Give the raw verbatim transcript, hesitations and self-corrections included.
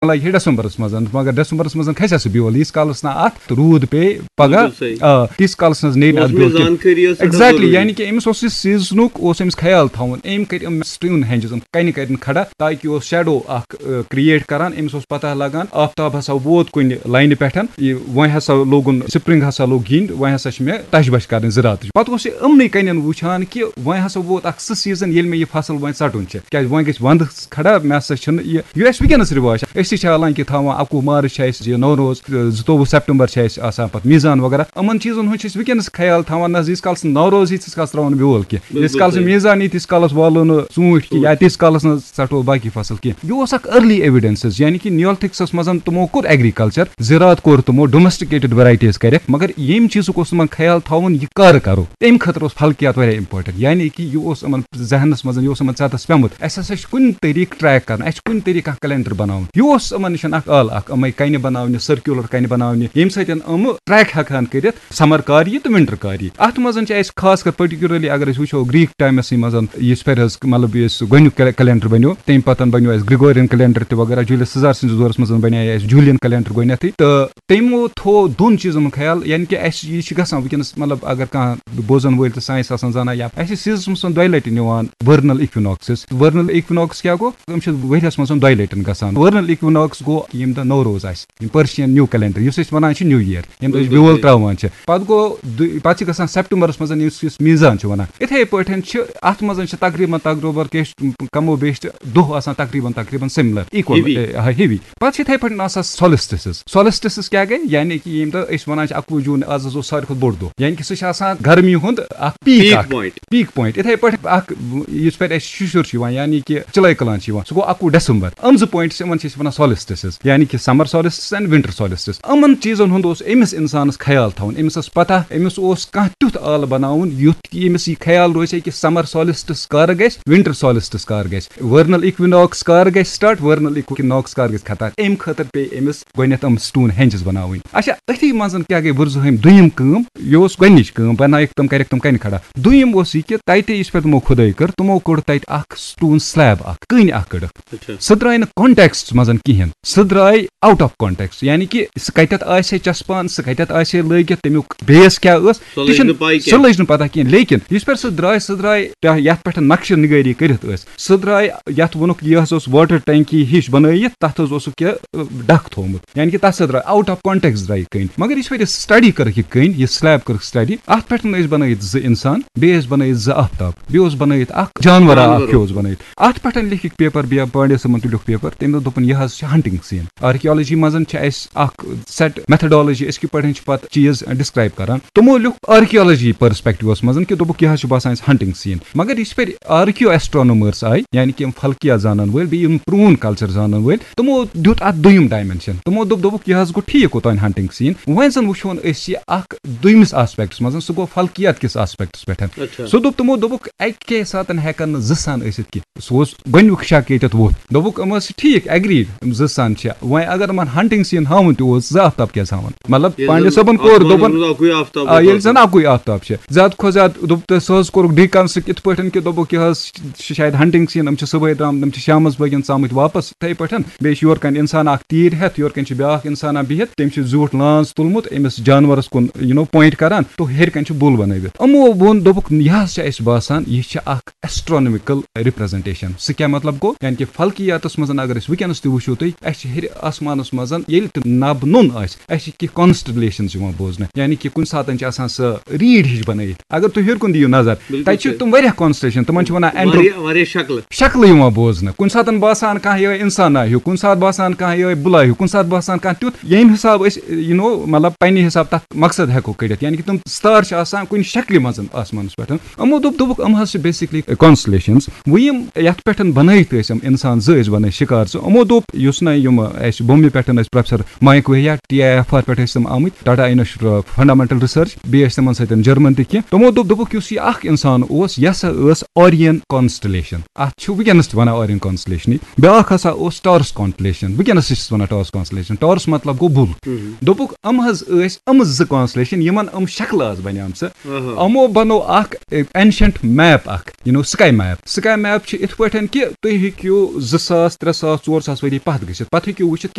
لگہِ ہے ڈسمبرس منٛز، مگر ڈسمبرس منٛز کھسہِ سا سُہ بیول، ییٖتِس کالس نہٕ اتھ روٗد پیٚیہِ پگاہ۔ بِلکُل صحیح۔ آ، تیٖتِس کالس نہٕ نیرِ نہٕ اتھ موسمٕچ بیول کینٛہہ۔ زانکٲری ٲس سٮ۪ٹھاہ exactly، ضروٗری۔ یعنی کہِ أمِس اوس یہِ سیٖزنُک، اوس أمِس خیال تھاوُن، أمۍ کٔرۍ أمۍ سٹون ہینجز، أمۍ کنہِ کٔرۍ کھڑا، تاکہِ اوس شیڈو اکھ، آ، create کران، أمِس اوس پتہ لگان آفتاب ہسا ووت کُنہِ لاینہِ پٮ۪ٹھ، یہِ وۄنۍ ہسا لوگُن، spring ہسا لوٚگ یِنۍ، وۄنۍ ہسا چھِ مےٚ تش بش کرٕنۍ زراعتٕچ۔ پتہٕ اوس یہِ یِمنٕے کنٮ۪ن وٕچھان کہِ وۄنۍ ہسا ووت اکھ سُہ سیٖزن، ییٚلہِ مےٚ یہِ فصل وۄنۍ ژٹُن چھُ، کیازِ وۄنۍ گژھِ ونٛدس کھڑا، مےٚ ہسا چھُنہٕ یہِ، یہِ اَسہِ وٕنکیٚنَس رِواج چھِ۔ أسۍ تہِ چھِ حالانکہِ تھاوان، اَکوُہ مارٕچ چھِ اَسہِ یہِ نوروز، زٕتووُہ سیپٹمبر چھِ اَسہِ آسان پَتہٕ میٖزان وغیرہ۔ یِمَن چیٖزَن ہُنٛد چھِ أسۍ وٕنکیٚنَس خیال تھاوان، نہ حظ، ییٖتِس کالَس نہٕ نوروز یی، تیٖتِس کالَس ترٛاوو نہٕ بیول کینٛہہ۔ ییٖتِس بِلکُل کالَس نہٕ صحیح۔ میٖزان یی، تیٖتِس کالَس والو نہٕ ژوٗنٛٹھۍ کینٛہہ، یا ژوٗنٛٹھۍ۔ تیٖتِس کالَس نہٕ ژَٹو باقٕے فصل کینٛہہ۔ یہِ اوس اَکھ early evidence حظ، یعنی کہِ نیولتھکسَس منٛز تِمو کوٚر agriculture، زِراعت کوٚر تِمو، domesticated varieties کَرٮ۪کھ، مگر ییٚمہِ چیٖزُک اوس تِمَن خیال تھاوُن، یہِ کَر کَرو، تَمہِ خٲطرٕ اوس فلکیات واریاہ important، یعنی کہِ یہِ اوس یِمَن ذہنس منٛز، یہِ اوس یِمن ژَتَس پیوٚمُت، اَسہِ ہسا چھُ کُنہِ طریٖقہٕ track کرُن، اَسہِ چھُ کُنہِ طریٖقہٕ کانٛہہ calendar بناوُن۔ یہِ اوس یِمن نِش اکھ آلہٕ اکھ، یِمے کَنہِ بناونہِ، circular کَنہِ بناونہِ، ییٚمہِ سۭتۍ یِم track ہٮ۪کہٕ ہن کٔرِتھ summer کر یہِ تہٕ winter کر یہِ۔ اَتھ منٛز چھِ اَسہِ خاص کر particularly اگر أسۍ وٕچھو Greek timeسٕے منٛز، یُس پٮ۪ٹھ حظ مطلب یُس گۄڈٕنیُک کیل-، calendar بنیو، تَمہِ پتہٕ بنیو اَسہِ Gregorian calendar تہِ وغیرہ، Julius Caesar سٕنٛدِس دورس منٛز بنے اَسہِ Julian calendar گۄڈٕنیتھٕے، تہٕ تِمو تھوو دۄن چیٖزن ہُنٛد خیال، یعنی کہِ اَسہِ یہِ چھِ گژھان وٕنکیٚنَس، مطلب، اگر کانٛہہ بوزن وٲلۍ تہٕ science آسان زانان، یا اَسہِ چھِ seasonس منٛز دۄیہِ لٹہِ نِوان vernal equinoxes۔ Vernal equinox کیٛاہ گوٚو؟ یِم چھِ ؤریَس منٛز دۄیہِ لٹہِ گژھان۔ Vernal equinox گوٚو ییٚمہِ دۄہ نوروز آسہِ، یِم Persian new calendar، یُس أسۍ وَنان چھِ new year، ییٚمہِ دۄہ أسۍ بِلکُل بیول صحیح۔ ترٛاوان چھِ۔ پَتہٕ گوٚو دُ-، پَتہٕ چھِ گژھان سیپٹمبرَس منٛز، یُس أسۍ میٖزان چھِ وَنان۔ یِتھَے پٲٹھۍ چھِ اَتھ منٛز چھِ تقریٖباً تقریٖباً کیش کمو بیش چھِ دۄہ آسان تقریٖباً تقریٖباً similar، equal، heavy۔ اے، آ، heavy۔ پَتہٕ چھِ یِتھَے پٲٹھۍ آسان solstices۔ Solstices کیٛاہ گٔے؟ یعنی کہِ ییٚمہِ دۄہ أسۍ وَنان چھِ اَکوُہ جوٗن، آز حظ اوس ساروی کھۄتہٕ بوٚڑ دۄہ، یعنی کہِ سُہ چھُ آسان گرمی ہُنٛد اَکھ peak peak اَکھ۔ Point۔ Peak point۔ یِتھَے پٲٹھۍ اَکھ، یُس پٮ۪ٹھ اَسہِ شُشُر چھُ یِوان، یعنی کہِ چِلَے کلان چھِ یِوان، سُہ گوٚو اَکوُہ ڈسمبر۔ یِم زٕ point چھِ، یِمَن چھِ أسۍ وَنان solstices، یعنی کہِ summer solstice and winter solstice۔ یِمَن چیٖزَن ہُنٛد اوس أمِس اِنسانَس خیال تھاوُن، أمِس ٲس پَتہ، أمِس اوس کانٛہہ تیُتھ آلہٕ بَناوُن، یُتھ کہِ أمِس یہِ خیال روزِ ہے کہِ summer solstice کر گژھِ، winter solstice کر گژھِ، vernal equinox کر گژھِ start، vernal equinox کر گژھِ ختم۔ اَمہِ خٲطرٕ پیٚیہِ أمِس گۄڈٕنٮ۪تھ یِم stone henges بناوٕنۍ۔ اچھا، أتھی منٛز کیٛاہ گٔے، ؤرزٕہٲمۍ دوٚیِم کٲم؟ یہِ اوس گۄڈٕنِچ کٲم، بنٲیِکھ تِم، کَرٮ۪کھ تِم کَنہِ کھڑا۔ دوٚیِم اوس یہِ کہِ تَتہِ یُس پٮ۪ٹھ تِمو کھُدٲے کٔر، تِمو کوٚڑ تَتہِ اَکھ stone slab اَکھ، کٔنۍ اَکھ کٔڑٕکھ۔ اچھا۔ سُہ درٛاے نہٕ context منٛز کِہیٖنۍ، سُہ درٛاے out of context، یعنی کہِ سُہ کَتٮ۪تھ آسہِ ہے چَسپان، سُہ کَتٮ۪تھ آسہِ ہے لٲگِتھ، تَمیُک base کیٛاہ ٲس، سۄ تہِ لٔج چھِنہٕ، نہٕ پَے سۄ کینٛہہ۔ لٔج نہٕ پَتہ کِہیٖنۍ۔ لیکِن یُس پٮ۪ٹھ سُہ درٛاے، سُہ درٛاے یَتھ پٮ۪ٹھ نقشہٕ نِگٲری کٔرِتھ ٲس۔ سُہ درٛاے، یَتھ ووٚنُکھ، یہِ حظ اوس water tanky ہِش بَنٲیِتھ، تَتھ حظ اوسُکھ یہِ، ٲ، ڈَکھ تھوٚومُت۔ یعنی کہِ تَتھ سۭتۍ درٛاے out of context درٛاے یہِ کٔنۍ۔ مگر یُس پَتہٕ یہِ study کٔرٕکھ یہِ کٔنۍ، یہِ slab کٔرٕکھ study، اَتھ پٮ۪ٹھ ٲسۍ بَنٲیِتھ زٕ اِنسان، بیٚیہِ ٲسۍ بَنٲیِتھ زٕ آفتاب، بیٚیہِ اوس بَنٲیِتھ اَکھ جانوَرا جانوَر اَکھ ہیوٗ اوس۔ اوس بَنٲیِتھ۔ اَتھ پٮ۪ٹھ لیٚکھِکھ paper بیا-، پانڈے صٲبَن تُلیُکھ paper، تٔمۍ دوٚپ، دوٚپُن، یہِ حظ چھِ hunting scene۔ Archaeology منٛز چھِ اَسہِ اَکھ set methodology، أسۍ کِتھ پٲٹھۍ چھِ پَتہٕ چیٖز describe کَران۔ تِمو لیوٚکھ archaeology perspective منٛز کہِ دوٚپُکھ، یہِ حظ چھُ باسان اَسہِ hunting scene۔ مگر یُس پٮ۪ٹھ archaeoastronomers آیہِ، یعنی کہِ یِم فلکیات زانَن وٲلۍ، بیٚیہِ یِم پرٛون culture زانَن وٲلۍ، تِمو دیُت اَتھ دوٚیِم dimension۔ تِمو دوٚپ، دوٚپُکھ، یہِ حظ گوٚو ٹھیٖک کوٚتام hunting scene۔ وۄنۍ زَن وٕچھون أسۍ یہِ اَکھ دوٚیمِس aspectس منٛز، سُہ گوٚو فلکیات کِس aspectس پٮ۪ٹھ۔ اچھا۔ سُہ دوٚپ، تِمو دوٚپُکھ، اَکے ساتَن ہٮ۪کَن نہٕ زٕ سَن ٲسِتھ کینٛہہ۔ سُہ اوس گۄڈٕنیُک شک ییٚتٮ۪تھ ووٚتھ۔ دوٚپُکھ، یِم ٲسۍ ٹھیٖک، agreed، یِم زٕ سَن چھِ۔ وۄنۍ اگر یِمَن hunting scene ہاوُن تہِ اوس، زٕ آفتاب کیٛازِ ہاوَن؟ مطلب، ییٚلہِ پانڈے زَن صٲبَن کوٚر، آسمانَس دوٚپُن، منٛز اَکُے آفتاب آ، ییٚلہِ آفتاب۔ زَن اَکُے آفتاب چھِ۔ زیادٕ کھۄتہٕ زیادٕ دوٚپ تہٕ سُہ حظ کوٚرُکھ deconstruct یِتھ پٲٹھۍ کہِ دوٚپُکھ، یہِ حظ چھِ شاید hunting scene، یِم چھِ صُبحٲے درٛامٕتۍ، یِم چھِ شامَس بٲگٮ۪ن ژامٕتۍ واپَس۔ یِتھَے پٲٹھۍ بیٚیہِ چھِ یورٕ کَنہِ اِنسان اَکھ تیٖر ہٮ۪تھ، یورٕ کَنہِ چھِ بیٛاکھ اِنسان اَکھ بِہِتھ، تٔمۍ چھِ زیوٗٹھ لانٛژ تُلمُت أمِس جانوَرَس کُن، you know، point کَران، تو ہیٚرِ کَنہِ چھِ بُل بَنٲوِتھ۔ یِمو ووٚن، دوٚپُکھ، یہِ حظ چھِ اَسہِ باسان، یہِ چھِ اَکھ astronomical representation۔ سُہ کیٛاہ مطلب گوٚو؟ یعنی کہِ فلکیاتَس منٛز اگر أسۍ وٕنکیٚنَس تہِ وٕچھو تُہۍ، اَسہِ چھِ ہیٚرِ آسمانَس منٛز ییٚلہِ تہِ نَب نوٚن آسہِ، اَسہِ چھِ کینٛہہ constellations یِوان بوزنہٕ، یعنی کہِ کُنہِ ساتَن چھِ آسان سۄ ریٖڈ ہِش بَنٲیِتھ۔ اگر تُہۍ ہیوٚر کُن دِیِو نظر، بِلکُل تَتہِ چھِ صحیح۔ تِم واریاہ constellation، تِمَن چھِ وَنان Andro-، واریاہ، واریاہ شکلہٕ۔ شکلہٕ یِوان بوزنہٕ۔ کُنہِ ساتَن باسان کانٛہہ یِہوٚے اِنسانا ہیوٗ، کُنہِ ساتہٕ باسان کانٛہہ یِہوٚے بُلا ہیوٗ، کُنہِ ساتہٕ باسان کانٛہہ تیُتھ، ییٚمہِ حساب أسۍ، you know، مطلب، پنٛنہِ حساب تَتھ مقصد ہٮ۪کو کٔڑِتھ، یعنی کہِ تِم ستار چھِ آسان کُنہِ شکلہِ منٛز آسمانَس پٮ۪ٹھ۔ یِمو دوٚپ، دوٚپُکھ، یِم حظ چھِ basically constellations۔ وۄنۍ یِم یَتھ پٮ۪ٹھ بَنٲیِتھ ٲسۍ یِم اِنسان زٕ ٲسۍ بَنٲیِتھ شِکار زٕ، یِمو دوٚپ، یُس نہ یِم اَسہِ بومبے پٮ۪ٹھ ٲسۍ professor Mayank Vahia, T I F R پٮ۪ٹھ ٲسۍ تِم آمٕتۍ، Tata institute of fundamental research, بیٚیہِ ٲسۍ تِمَن سۭتۍ جرمن تہِ کینٛہہ۔ تِمو دوٚپ، دوٚپُکھ، یُس یہِ اَکھ اِنسان اوس، یہِ ہسا ٲس Orion constellation۔ اَتھ چھُ وٕنکیٚنَس تہِ وَنان Orion constellation۔ بیٛاکھ ہسا اوس Taurus constellation، وٕنکیٚنَس تہِ چھِس وَنان Taurus constellation۔ Taurus مطلب گوٚو بُل۔ ہُم۔ دوٚپُکھ، یِم حظ ٲسۍ یِم زٕ constellation، یِمَن یِم شکلہٕ آسہٕ بَنیمژٕ۔ آہا۔ یِمو بَنوو اَکھ، اے، ancient map اَکھ، you know، sky map۔ Sky map چھِ یِتھ پٲٹھۍ کہِ تُہۍ ہیٚکِو زٕ ساس، ترٛےٚ ساس، ژور ساس ؤری پتھ گٔژھِتھ۔ پتہٕ ہیٚکِو وٕچھِتھ